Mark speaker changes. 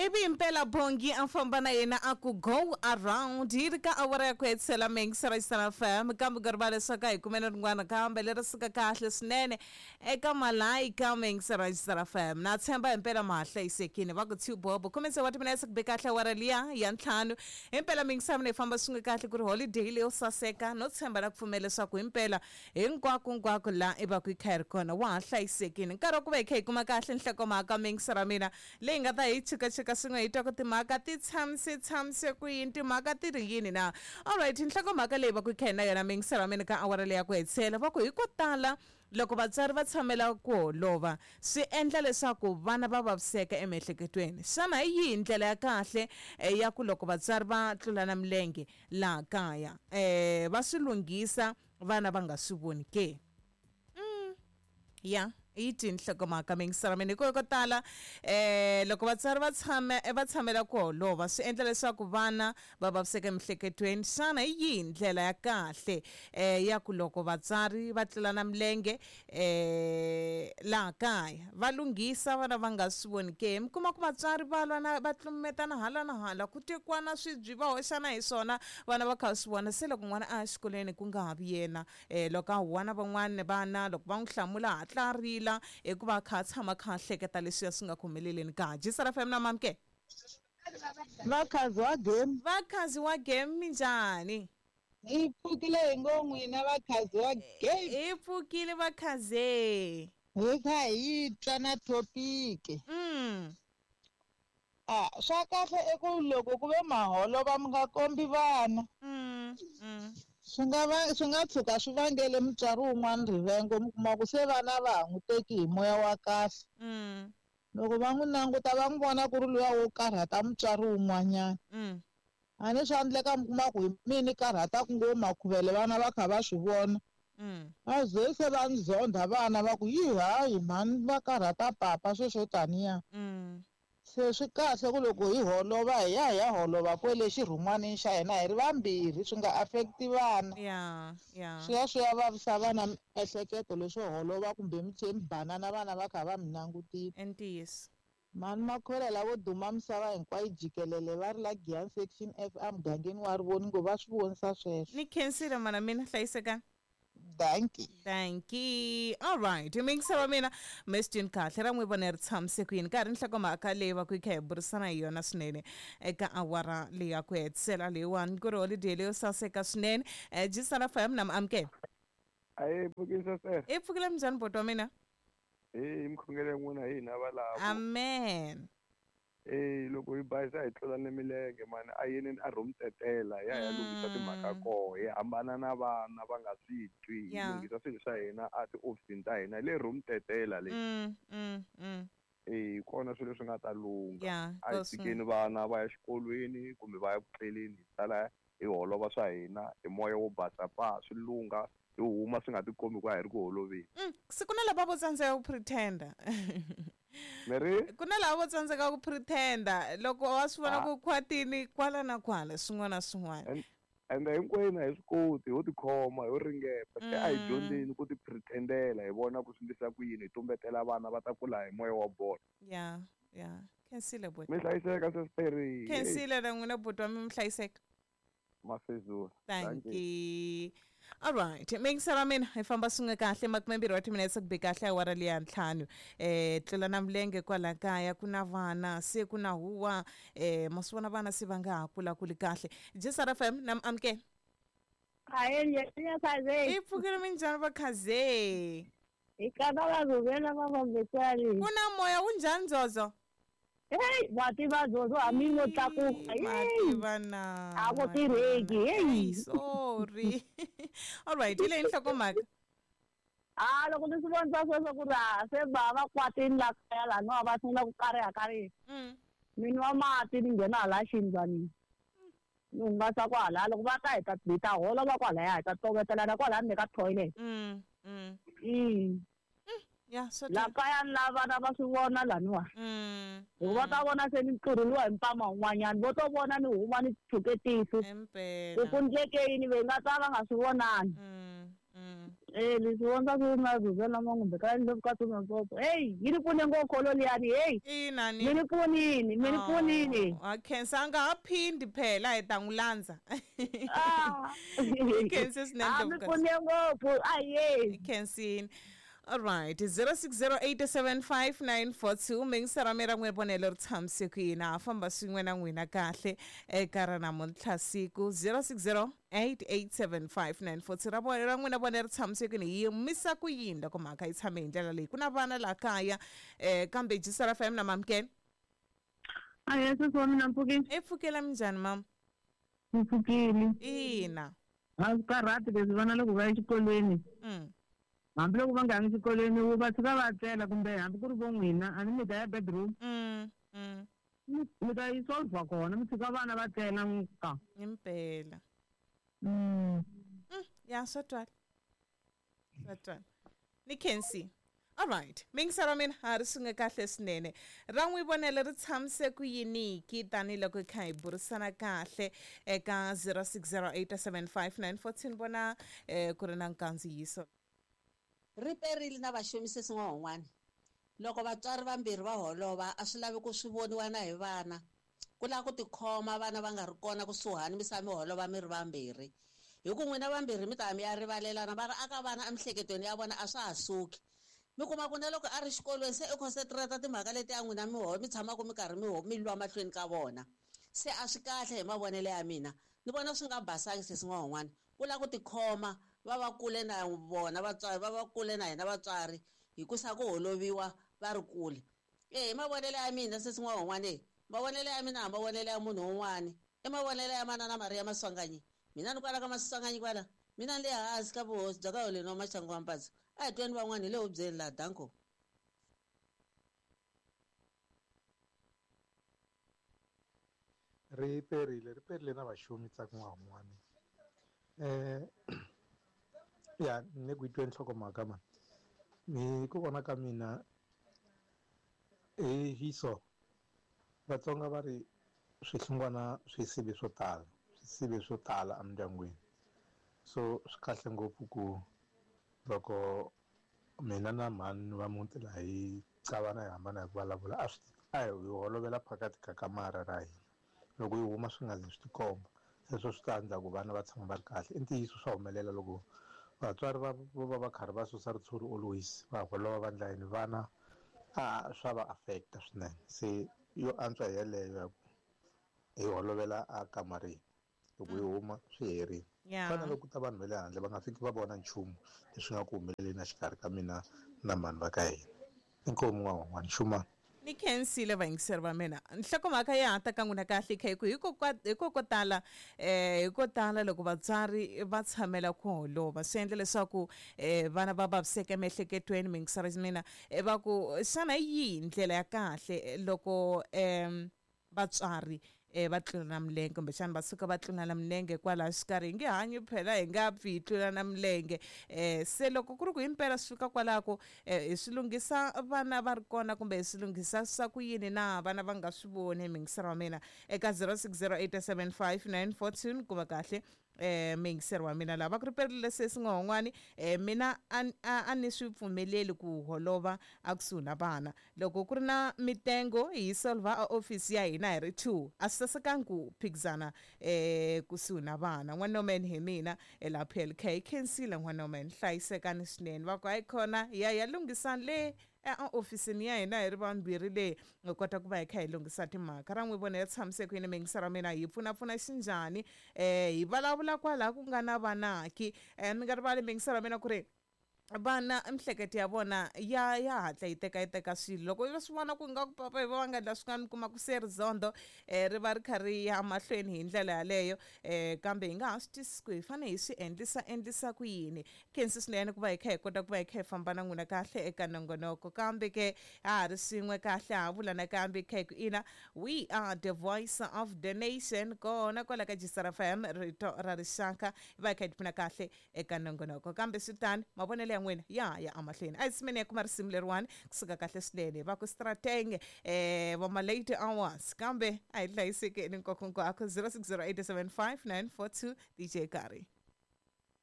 Speaker 1: Ivi impela Bongi a famba na yena a ku go around yi ri ka awara ya ku hetisela Mengisa ra FM kambe ku rivala leswaku a hi kumene rin'wana kambe leri suka kahle swinene eka Malaika Mengisa ra FM na tshemba himpela ma ha hlayisekile va ku two bobo khume tsevu wa timinetse ku be kahle awara liya ya ntlhanu himpela Mengisa mina hi famba swin'we kahle ku ri holiday leyo saseka no tshemba na ku pfumela leswaku himpela hinkwako-nkwako laha i va ku i kha hi ri kona wa ha hlayisekile. Nkarhi wa ku va hi kha hi kuma kahle nhlokomhaka mingisa ra mina leyi nga ta hi chukacheka swin'we hi twa ku timhaka ti tshamise tshamise ku yini, timhaka ti ri yini na. Alright, nhlokomhaka leyi va ku i kha hi na yona mingisa ra mina ka awara leyi ya ku hetisela va ku hi ko tala loko vatswari va tshamela ku holova swi endla leswaku vana va vaviseka emiehleketweni. Xana hi yihi ndlela ya kahle ya ku loko vatswari va tlulana milenge laha kaya va swi lunghisa vana va nga swi voni ke? Ya yi tini nhlokomhaka mingisela mina hikuva ko tala loko vatswari va tshame va tshamela ku holova swi endla leswaku vana va vaviseka emiehleketweni. Xana hi yihi ndlela ya kahle ya ku loko vatswari va tlulana milenge laha kaya va lunghisa vana va nga swi voni ke? Mi kuma ku vatswari va lwa na va tlumetana hala na hala ku tekiwana swibyi va hoxana hi swona vana va kha va swi vona. Se loko n'wana a ya xikolweni ku nga ha vi yena loko a huwa na van'wana vana loko va n'wi hlamula a hatla a rila hikuva a kha a tshama a kha a hleketa leswiya swi nga ku humeleleni ka Jisara FM na Mamke.
Speaker 2: Vakhazi wa game.
Speaker 1: Vakhazi wa game minjhani?
Speaker 2: Hi pfukile hi ngo n'wina vakhazi wa game.
Speaker 1: Hi pfukile vakhaze.
Speaker 2: Hi kha hi twa na topic. A swa kahle i ku loko ku ve maholova mi nga kombi vana. Swi nga va swi nga tshuka swi vangele mutswari wun'wana rivengo mi kuma ku se vana va ha n'wi teki hi moya wa kahle. Loko va n'wi languta va n'wi vona ku ri luya wo karhata mutswari wun'wanyana. A ni swa endleka mi kuma ku hi mina ni karhataka ngo makhuvele vana va kha va swi vona. Va ze se va ni zondha vana va ku yi hayi mhani va karhata papa sweswo taniya. Se swi kahle ku loko hi holova hi ya hi ya holova kwele xirhun'wanini xa hina hi ri vambirhi swi nga affect-i vana. Swi ya swi ya vavisa vana miehleketo leswo holova kumbe mi tlhe mi banana vana va kha va mi langutile.
Speaker 1: I ntiyiso.
Speaker 2: Mhani Makhwela lavo duma misava hinkwayo jikelele va ri la Giyani Section F emugangeni wa Rivoningo va swi vonisa sweswo.
Speaker 1: Ni khensile mhana mina, hlayisekani.
Speaker 2: Dankie.
Speaker 1: Dankie. All right. Mingisa wa mina Mestin kahle ra n'wi vona ri tshamise ku yini ka ha ri nhlokomhaka leyi va ku yi kha hi burisana hi yona swinene eka awara leyi ya ku hetisela leyiwani ku ri holiday leyo saseka swinene. Jisana FM na mi amukela.
Speaker 3: Ayi pfukisa sir.
Speaker 1: I pfukile minjhani boti wa mina?
Speaker 3: Hey, mikhongelo ya n'wina hi hina valavo.
Speaker 1: Amen.
Speaker 3: Hey, loko hi bayisa hi tlulane milenge mani a yeneni a room tetela hi ya hi ya lunghisa timhaka koho hi hambana na vana va nga swi twi hi lunghisa swilo swa hina a tiofisini ta hina hi le room tetela le. Hi kona swilo leswi nga ta lungha. A hi tshikeni vana va ya xikolweni kumbe va ya ku tleleni hi sala hi holova swa hina hi moya wo basa paa swi lungha hi huma swi nga tikombi ku a hi ri ku holoveni.
Speaker 1: Se ku na lava vo tsandzeka ku pretend-a.
Speaker 3: Mi ri?
Speaker 1: Ku na lava vo tsandzeka ku pretend-a loko wa swi vona ku khwatini kwala na kwala swin'wana na swin'wana.
Speaker 3: Ende hinkwenu a hi swi koti ho tikhoma ho ringeta se a hi dyondzeni ku ti pretend-ela hi vona ku swi endlisa ku yini hi tumbetela vana va ta kula hi moya wa bolo.
Speaker 1: Ya ya khensile buti.
Speaker 3: Mi hlayiseka sesiteri.
Speaker 1: Khensile na n'wina buti wa mi mi hlayiseka.
Speaker 3: Mafezula.
Speaker 1: Dankie. All right. Mingisa ra mina hi famba swin'we kahle makumembirhi wa timinetse ku be kahle awara leya ntlhanu. Tlula na milenge kwala kaya ku na vana se ku na huwa ma swi vona vana se va nga ha kulakuli kahle. Jisara FM na mi amukela.
Speaker 4: Hayi
Speaker 1: I pfukile minjhani va khaze?
Speaker 4: Hi ka va rhurhela va vambetsali.
Speaker 1: Ku na moya wu njhani Zozo?
Speaker 4: Hey, wa tiva Zozo hambi no tlakuka.
Speaker 1: Ma tiva na.
Speaker 4: A ku tirheki.
Speaker 1: Hey, sorry. All right, hi leyi nhlokomhaka.
Speaker 4: A loko ni swi vonisa sweswo ku ri a se va va kwatini la kaya laniwa va sungula ku kariha kariha. Ni nwa mati ni nghena hala xindlwanini. Ni hungasa kwalaya loko va ta hi ta hi ta holova kwalaya hi ta tovetelana kwalaya ni le ka toilet.
Speaker 1: Ya swa
Speaker 4: La kaya ni la vana va swi vona laniwa. Hikuva ta vona se ni tlurheliwa hi mpama wun'wanyana vo to vona ni huma ni tshuke tihlo.
Speaker 1: Impela.
Speaker 4: Ku ku ndleke yini ve nga ta va nga swi vonani. Leswi vona ku na rhurhela kumbe ka Ndlovukazi Mapopo. Hey, yi ni pfune ngopfu kholo liyani, hey.
Speaker 1: Ina ni.
Speaker 4: Mi ni pfunini, mi ni pfunini.
Speaker 1: A khensa a nga ha phindi phela hi ta n'wi landza.
Speaker 4: Ah.
Speaker 1: Khensa swinene
Speaker 4: Ah, mi
Speaker 1: Ndlovukazi.
Speaker 4: pfune ngopfu. Aye.
Speaker 1: Khensini. All right, 06087594 mingisera mi ra n'we vonelo ri tshamise ku yini ha famba swin'we na n'wina kahle eka ra namuntlha siku 0608875942 ra vona ra n'wina vona ri tshamise ku yini hi yimisa ku yini loko mhaka yi tshame hi ndlela leyi ku na vana laha kaya kambe Jisara FM na mamkene.
Speaker 4: Aye, sesi wa mina mpfukile.
Speaker 1: E pfukela minjhani mama?
Speaker 4: Mpfukile.
Speaker 1: Ina.
Speaker 4: A swi karhati leswi vana loko va ya exikolweni. Hambi loko va nga yangi xikolweni wu va tshika va tlela kumbe hambi ku ri vo n'wina a ni mi ta ya bedroom. Mi ta yi solve kona mi tshika vana va tlela ka.
Speaker 1: Impela. Ya swa twala. Swa twala. Ni khensi. All right. Mingisera mina ha ri swin'we kahle swinene. Ra n'wi vonelo ri tshamise ku yiniki tanihiloko hi kha hi burisana kahle eka 06087594 vona ku ri na nkandziyiso.
Speaker 5: Ri perile na vaxonisi swin'wana. Loko vatswari vambirhi va holova a swi lavi ku swi voniwa na hi vana. Ku lava ku tikhoma vana va nga ri kona kusuhani mi sa mi holova mi ri vambirhi. Hi ku n'wina vambirhi mi ta mi ya rivalelana va ri aka vana emiehleketweni ya vona a swa ha suki. Mi kuma ku na loko a ri xikolweni se i concentrate timhaka leti ya n'wina mi mi tshamaka mi karhi mi lwa mahlweni ka vona. Se a swi kahle hi mavonelo ya mina. Ni vona swi nga basangi se swin'wana. Ku lava ku tikhoma va va kule na vona vatswari va va kule na hina vatswari hi ku sa ku holoviwa va ri kule. Hi mavonelo ya mina se swin'wana mavonelo ya mina a mavonelo ya munhu un'wana. I mavonelo ya manana Maria Maswanganyi. Mina ni kwala ka Maswanganyi kwala. Mina ni le hansi ka vuhosi bya ka Holeni wa Maxangu wa Mpatso. A hi tweni van'wana hi le hubyeni laha danko.
Speaker 6: Ri perile na vaxomi tsaku n'wana. Ya ni ku twe nhlokomhaka mani. Ni ku vona ka mina hi so Vatsonga va ri swihlungwana swi sive swo tala, swi sive swo tala emindyangwini. So swi kahle ngopfu ku loko mina na mhani va muti laha hi qavana hi hambana hi ku vulavula a swi a hi holovela phakathi ka kamara ra hina. Loko hi huma swi nga zi swi tikomba. Sweswo swi ta endla ku vana va tshama va ri kahle. I ntiyiso swa humelela loko vatswari va va va karhi va susa ritshuri always va holova va ndla yini vana a swa va affecta swinene. Se yo antswa yeleyo ya ku hi holovela a kamareni loko hi huma swi herile. Fana loko ta vanhu va le handle va nga fiki va vona nchumu leswi nga ku humeleleni exikarhi ka mina na mhani va ka hina. Inkomu n'wan'wana xuma.
Speaker 1: Ni khensile vayingiseri va mina. Nhlokomhaka ya ha ta ka n'wina kahle kha hi ku hikokotala hi ko tala loko vatswari va tshamela ku holova swi endla leswaku vana va vaviseka emiehleketweni mingiseri mina va ku xana hi yihi ndlela ya kahle loko vatswari va tlulana milenge kumbexana va suka va tlulana milenge kwalaho xikarhi hi nge hanyi phela hi nga pfi hi tlulana milenge se loko ku ri ku himpela swi fika kwalako hi swi lunghisa vana va ri kona kumbe hi swi lunghisa swa ku yini na vana va nga swi voni mingiseri wa mina eka 06087594 ni kuma kahle mingiseri wa mina lava ku ri perile sesi n'wan'wani mina a ni swi pfumeleli ku holova a kusuhi na vana loko ku ri na mitengo hi solva a office ya hina hi ri 2 a swi sasekanga ku phikizana kusuhi na vana. N'wanomen hi mina la PLK khensile n'wanomen hlayisekani swinene va ku hayi khona ya ya lunghisani le a ofisini ya hina hi ri vambirhi le hi kota ku va hi kha hi lunghisa timhaka ra n'wi vona ya tshamise ku yini mingisera mina hi pfunapfuna xinjhani hi vulavula kwalaha ku nga na vanaki mi nga rivali mingisera mina ku ri vana miehleketo ya vona ya hatla yi teka swilo loko va swi vona ku nga ku papa hi va nga endla swin'wana mi kuma ku se rizondo ri va ri kha ri ya mahlweni hi ndlela yaleyo kambe hi nga ha swi twisisi ku hi fanele hi swi endlisa ku yini. Khensi swinene ku va hi kha hi kota ku va hi kha hi famba na n'wina kahle eka nongonoko kambe ke ha ha ri swin'we kahle ha vula nakambe kha hi ku ina we are the voice of the nation kona kwala ka Jisara FM rito ra rixaka hi va hi kha hi tipfuna kahle eka nongonoko kambe swi tani mavonelo ya n'wina ya amahlweni a hi tshimeni ya kuma risimu leriwani kusuka kahle swinene va ku strateng va ma late hours kambe a hi hlayisekeni nkokonkwako 06087594 DJ Kari.